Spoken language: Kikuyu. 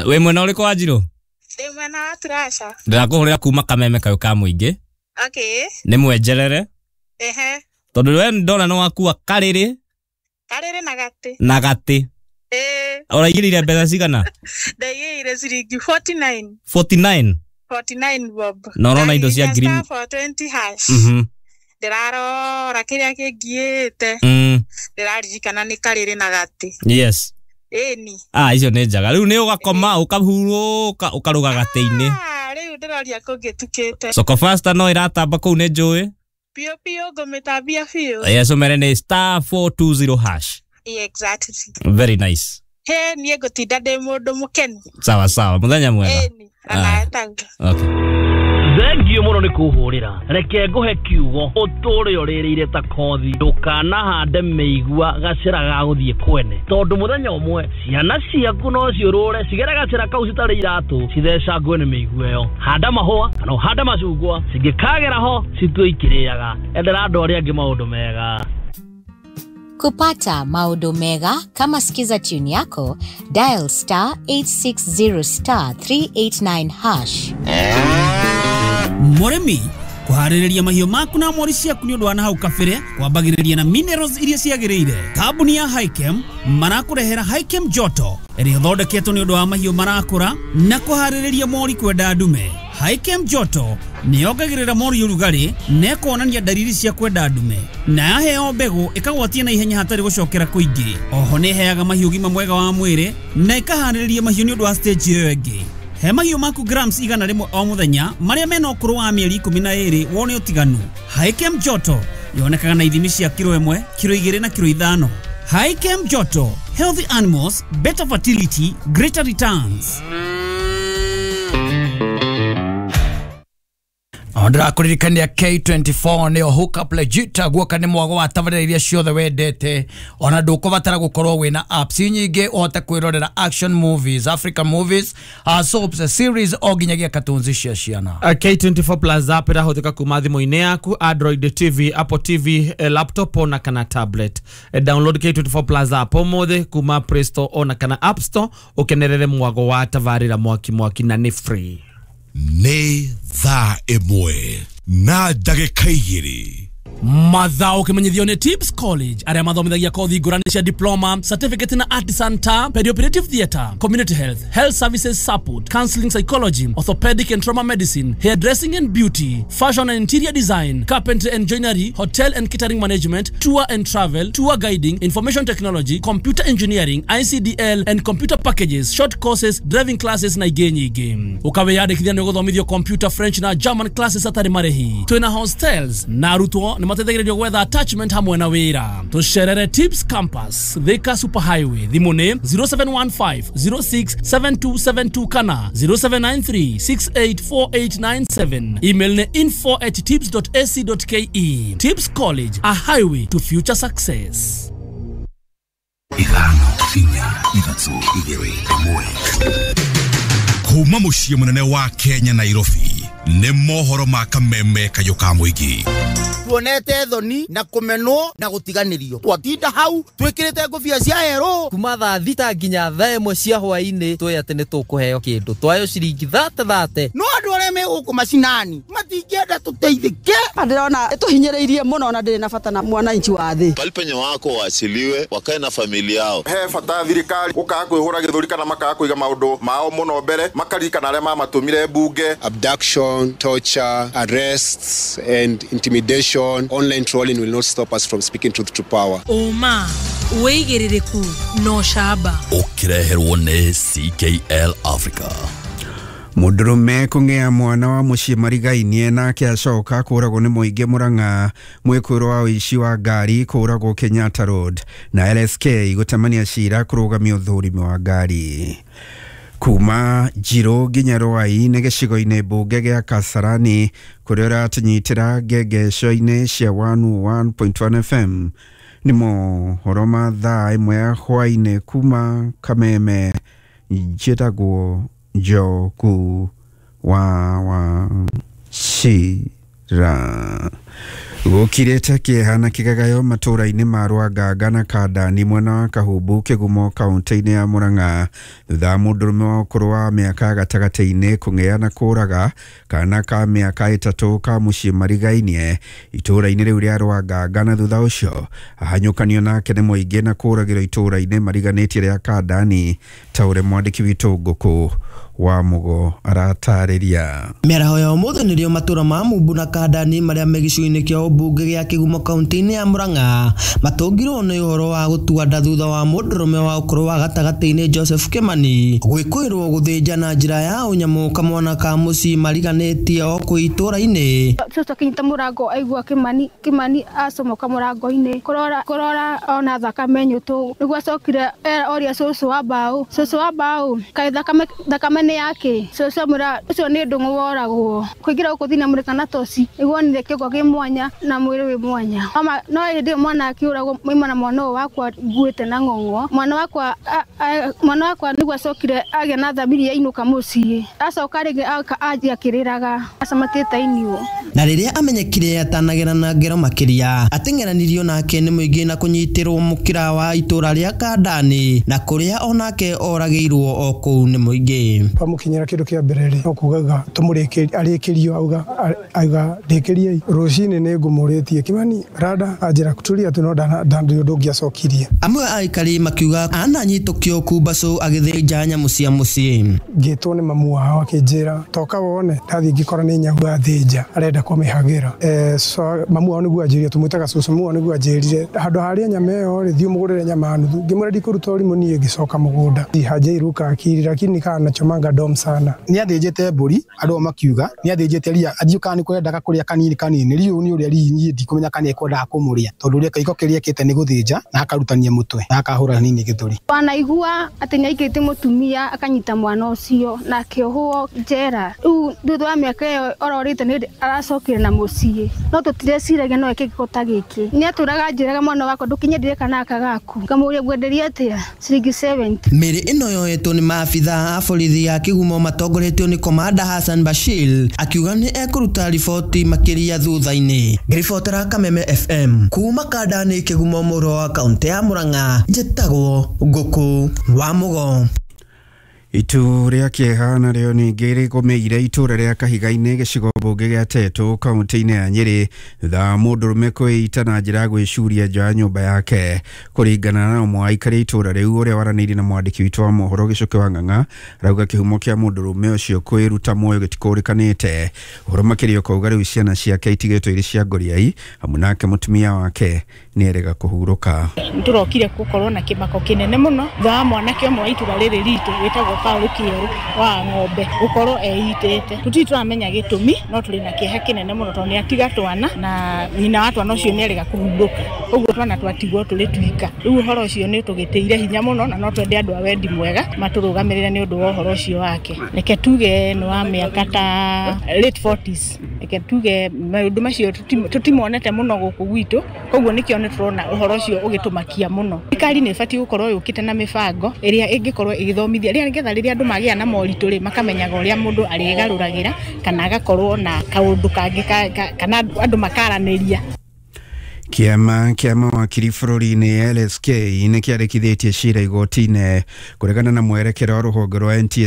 Wĩ mwena ũrĩkũ wa Njirũ? Ndĩ mwena wa Turasha. Ndĩrakũhũrĩra kuma Kameme kayũ ka mũingĩ. Okay. Nĩ mwenjerere. Ehe. Tondũ we ndona nĩ wakua karĩrĩ. Karĩrĩ na gatĩ. Na gatĩ. Ĩĩ. Ũraigĩrĩire mbeca cigana? Ndaigĩrĩire ciringi 49. 49? 49 bob. Na ũrona indo cia ngiri 420 hash. Ndĩrarora kĩrĩa kĩngiĩte. Ndĩraririkana nĩ karĩrĩ na gatĩ. Yes. Ĩni. Ah, icio nĩ njega. Rĩu nĩ ũgakoma ũkahurũka ũkarũga gatĩ-inĩ. Ah, rĩu ndĩroria kũngĩtukĩte. Soko Fasta no ĩratamba kũu nĩ njũĩ. Biũ biũ ngũmĩtambia biũ. Yes, ũmere nĩ star 420 hash. Exactly. Very nice. He, niĩ ngũtinda ndĩ mũndũ mũkenu. Sawa sawa, mũthenya mwega. Ĩni, onawe taguo. Okay. Thengio mũno nĩ kũhũrĩra. Reke ngũhe kiugo ũtũre ũrĩrĩire ta kothi. Ndũkanahande mĩigua gacĩra ga gũthiĩ kwene, tondũ mũthenya ũmwe ciana ciaku no ciũrũre cigere gacĩra kau citarĩ iratũ cithecangwe nĩ mĩigua ĩyo. Handa mahũa kana ũhande macungwa, cingĩkagera ho citue ikĩrĩaga. Endera andũ arĩa angĩ maũndũ mega. Kupata maũndũ mega kama Skiza tune yako, dial star 860 star 389 hash. Mũrĩmi kũharĩrĩria mahiũ maku na mori ciaku nĩ ũndũ wa nahau kabere kwambagĩrĩria na minerals iria ciagĩrĩire. Kambuni ya Hikem marakũrehera Hikem Joto ĩrĩa ĩthondeketwo nĩ ũndũ wa mahiũ marakũra na kũharĩrĩria mori kwenda ndume. Hikem Joto nĩ yongagĩrĩra mori ũrugarĩ na ĩkonania ndariri cia kwenda ndume, na yaheo mbegũ ĩkagwatia na ihenya hatarĩ gũcokera kũingĩ. Oho nĩ ĩheaga mahiũ ũgima mwega wa mwĩrĩ na ĩkaharĩrĩria mahiũ nĩ ũndũ wa stage ĩyo ĩngĩ. He mahiũ maku grams 100 o mũthenya marĩa mena ũkũrũ wa mĩeri 12 wone ũtiganu. Hikem Joto yonekaga na ithimi cia kiro 1, kiro 2 na kiro 5. Hikem Joto, healthy animals, better fertility, greater returns. Ndĩrakũririkania K24 nĩyo hookup legit guoka nĩ mwago wa tabarĩra iria ciothe wendete, ona ndũkũbatara gũkorwo wĩna apps nyingĩ ũhote kwĩrorera action movies, African movies, soaps, series o nginyagia cartoons cia ciana. K24 Plus app ĩrahũthĩka kuma thimũ-inĩ yaku, Android TV, Apple TV, laptop ona kana tablet. Download K24 Plus app ũmũthĩ kuma Play Store ona kana App Store ũkenerere mwago wa tabarĩra mwaki mwaki na nĩ free. Nĩ thaa 1 na ndagĩka 2. Mathao ũkĩmenyithio nĩ Tips College arĩa mathomithagia kothi ngũrani cia diploma, certificate na artisan ta perioperative theatre, community health, health services support, counseling psychology, orthopedic and trauma medicine, hairdressing and beauty, fashion and interior design, carpentry and joinery, hotel and catering management, tour and travel, tour guiding, information technology, computer engineering, ICDL and computer packages, short courses, driving classes na ingĩ nyingĩ. Ũkawĩyandĩkithia nĩ ũgũthomithio computer, French na German classes hatarĩ marĩhi. Twĩna hostels na arutwo nĩ mateithagĩrĩrio gwetha attachment hamwe na wĩra. Tũcerere Tips Campus, Thika Super Highway. Thimũ nĩ 0715 067272 kana 0793 684897. Email nĩ info@tips.ac.ke. Tips College, a highway to future success. 5 4 3 2 1. Kuma mũciĩ mũnene wa Kenya Nairobi nĩ mohoro ma Kameme kayũ ka mũingĩ. Tuonete thoni na kũmenwo na gũtiganĩrio. Twatinda hau twĩkĩrĩte ngũbia cia herũ kuma thaa 6 nginya thaa 1 cia hwaĩ-inĩ twĩ atĩ nĩ tũkũheo kĩndũ twayo ciringi 30. No andũ arĩa me gũkũ macinani matingĩenda tũteithĩke. Ndĩrona ĩtũhinyĩrĩirie mũno na ndĩrĩ na bata na mwananchi wa thĩ. Pali penye wako waachiliwe wakae na familia yao. He bata thirikari gũkaga kwĩhũra gĩthũri kana makaga kũiga maũndũ mao mũno mbere makaririkana arĩa mamatũmire mbunge. Abduction, torture, arrests and intimidation, online trolling will not stop us from speaking truth to power. Ũma, wĩigĩrĩrĩku na ũcamba. Ũkĩreherwo nĩ CKL Africa. Mũndũrũme kũng'ea mwana wa mũciĩ marigainie nake acoka kũragwo nĩ mũingĩ Murang'a. Mwĩkũĩrwo wa ũici wa ngari kũragwo Kenyatta Road na LSK gũtemania cira kũrũgamia ũthũrimi wa ngari. Kuma Njirũ nginya Rwai nĩ gĩcigo-inĩ mbunge gĩa Kasarani kũrĩa ũratũnyitĩra ngengesho-inĩ cia 101.1 FM. Nĩ mohoro ma thaa 1 ya hwaĩ-inĩ kuma Kameme. Njĩtagwo Njoku wa Wachira. Gũkirĩte kĩeha na kĩgagayo matũũra-inĩ ma Rwanganga na Kandani mwena wa Kahumbu Kĩgumo kaũntĩ-inĩ ya Murang'a thutha wa mũndũrũme wa ũkũrũ wa mĩaka gatagatĩ-inĩ kũng'ea na kũraga kana ka mĩaka 3 ka mũciĩ marigainie itũũra-inĩ rĩu rĩa Rwanganga na thutha ũcio ahanyũkanio nake nĩ mũingĩ na kũragĩrwo itũũra-inĩ mariganĩtie rĩa Kandani ta ũrĩa mwandĩki witũ Ngũkũ wa Mugo aratarĩria. Mĩaraho ya ũmũthĩ nĩrĩo matũra ma Mumbu na Kandani marĩa me gĩcigo-inĩ kĩa ũmbunge gĩa Kĩgumo kaũntĩ-inĩ ya Murang'a matũngirwo nĩ ũhoro wa gũtua nda thutha wa mũndũrũme wa ũkũrũ wa gatagatĩ-inĩ Joseph Kimani gwĩkũĩrwo gũthĩnja na njĩra ya ũnyamũ kamwana ka mũciĩ mariganĩtie o kũu itũũra-inĩ. Cũcũ akĩnyita mũrango aigua Kimani acomoka mũrango-inĩ kũrora ona thakame nyũtũ nĩguo acokire oria cũcũ wa mbaũ, cũcũ wa mbaũ kaĩ thakame nĩ yake? Cũcũ amwĩra ũcio nĩ ndũng'ũ woragwo. Kũingĩra gũkũ thĩinĩ amũrĩka na toci nĩguo onire kĩongo kĩ mwanya na mwĩrĩ wĩ mwanya. No hĩndĩ ĩyo mwana akĩũragwo maima na mwana ũyũ wakwa nguĩte na ng'ong'o. Mwana wakwa nĩguo acokire agĩa na thamiri yainũka mũciĩ. Acoka rĩngĩ anjia akĩrĩraga acamatĩte iniũ. Na rĩrĩa amenyekire atanagera na ngero makĩria ateng'eranirio nake nĩ mũingĩ na kũnyitĩrwo mũkĩra wa itũũra rĩa Kandani na kũrĩa onake oragĩirwo o kũu nĩ mũingĩ. Twamukinyira kindu kia mbere ri no kugaga tumurikirie arikirio auga auga ndikirie rucini ni ngumuritie Kimani rada anjira kuturia tu no ndandi undu ngiacokirie. Amwe a aikari makiuga ananyitũkio kumbacu agĩthĩnja nyamũ cia mũciĩ. Ngĩtwo nĩ mamu wao akinjira toka wone ndathi ngikora ni nyau athĩnja arenda kũmĩhagĩra. So mamu wao nĩguo anjĩrire tumwĩtaga cũcũ, mamu wao nĩguo anjĩrire handũ harĩa nyama ĩyo rĩ thiĩ ũmũgũrĩre nyama nuthu. Ngĩmwĩra ndikũruta ũrimũ niĩ ngĩcoka mũgũnda hajairuka akili lakini kana nachomanga dom sana. Ni athĩnjĩte mbũri andũ makiuga ni athĩnjĩte ria athiĩ kana nĩ kwendaga kũrĩa kanini kanini riũ ni ũrĩa ri niĩ ndikũmenya kana ekwendaga kũmũrĩa tondũ ũrĩa kaiko kĩrĩa ekĩte nĩ gũthĩnja na akarutania mũtwe na akahũra hanini gĩthũri. Wanaigua atĩ nĩaikĩtie mũtumia akanyita mwana ũcio na akĩohwo njera. Rĩu thutha wa mĩaka ĩyo ororĩte nĩ aracokire na mũciĩ no tũtireciragia no eke gĩko ta gĩkĩ. Nĩatũraga anjĩraga mwana wakwa ndũkinyendire kana aka gaku ngamũria ngwenderia atĩa ciringi 70. Mĩrĩ ĩno yoetwo nĩ maabitha a borithi ya Kĩgumo matongoretio nĩ Komanda Hassan Bashir akiuga nĩ ekũruta riboti makĩria thutha-inĩ. Ngĩribotera Kameme FM kuma Kandani Kĩgumo mũro wa kaũntĩ ya Murang'a njĩtagwo Ngũkũ wa Mũgo. Itu rĩa kĩeha narĩo ningĩ rĩgũmĩire itũũra rĩa Kahiga-inĩ gĩcigo mbunge gĩa Tetu kaũntĩ-inĩ ya Nyĩrĩ thutha wa mũndũrũme kwĩita na njĩra ya gwĩcuria nja ya nyũmba yake. Kũringana na ũmwe wa aikari a itũũra rĩu ũrĩa waranĩirie na mwandĩki witũ wa mohoro Gĩcũkĩ wa Ng'ang'a arauga kĩhumo kĩa mũndũrũme ũcio kwĩruta muoyo gĩtikũrĩkanĩte. Ũhoro makĩria ũkauga rĩu ciana ciake itigĩtwo irĩ cia ngoriai hamwe nake mũtumia wake nĩerega kũhurũka. Nĩtũrokire gũkorwo na kĩmako kĩnene mũno thutha wa mwanake ũmwe wa itũũra rĩrĩ ritũ wĩtagwo Paul Kĩerũ wa ng'ombe gũkorwo eitĩte. Tũtirĩ tũramenya gĩtũmi no tũrĩ na kĩeha kĩnene mũno tondũ nĩatiga twana na nyina wa twana ũcio nĩarega kũhurũka, ũguo twana twatigwo tũrĩ twika. Rĩu ũhoro ũcio nĩũtũgĩtĩire hinya mũno na no twende andũ a wendi mwega matũrũgamĩrĩre nĩ ũndũ wa ũhoro ũcio wake. Reke tuge nĩ wa mĩaka ta late 40s, reke tuge maũndũ macio tũtimonete mũno gũkũ gwitũ, koguo nĩkĩo nĩtũrona ũhoro ũcio ũgĩtũmakia mũno. Thirikari nĩ ĩbatiĩ gũkorwo yũkĩte na mĩbango ĩrĩa ĩngĩkorwo ĩgĩthomithia rĩrĩa nĩgetha rĩrĩa andũ magĩa na moritũ rĩ makamenyaga ũrĩa mũndũ arĩgarũragĩra kana agakorwo na kaũndũ kangĩ kana andũ makaranĩria. Kĩama kĩa mawakiri bũrũri-inĩ LSK nĩ kĩandĩkithĩtie cira igoti-inĩ kũregana na mwerekera wa rũhonge rwa NTSA.